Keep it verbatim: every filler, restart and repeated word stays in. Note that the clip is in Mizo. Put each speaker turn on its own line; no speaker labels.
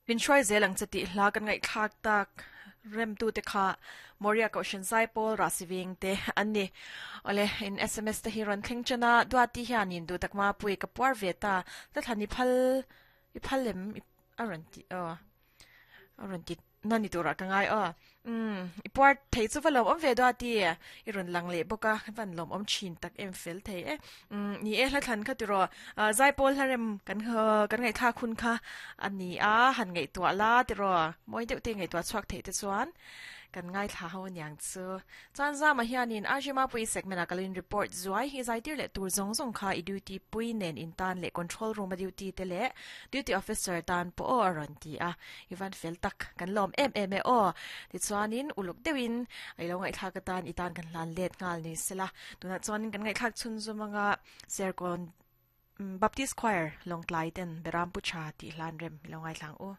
Min hruai zel ang che tih hla kan ngaihthlak tak rem tu te kha Moria Kohhran Zaipawl Rasiveng te an ni. Awle in S M S te hi rawn thleng ṭan a, Duati hianin duh tak mapui ka puar ve ta, hla thlan i phal i phal lem a rawn ti aw a rawn ti na ni turah ka ngai aw. Umm i puar thei chu va lawm awm ve Duati i rawn lang leh bawk a, van lawm awm thin tak em fel thei e. Umm ni e hla thlan kha tiraw Zaipawl hla rem kan kan ngaihthlak hun kha a ni a, han ngaihtuah la tiraw mawi deuh te ngaihtuah chhuak theih te chuan kan ngaithla ho aniang chu. Chuan zama hianin R J Mapui segment ah ka lo in report zuai hi zaitir leh tur zawng zawng kha i duty pui nen in tan leh control room a duty te leh duty officer tan pawh aw a rawn ti a, i van fel tak kan lawm em em e aw. Tichuanin uluk deuhin i lo ngaihthlak atan i tan kan hlan let nghal ni sela. Tunah chuanin kan ngaihthlak chhun zum anga Serkawn Baptist Choir Lawngtlai ten Beram Pu Tha tih hlan rem i lo ngaithlang u.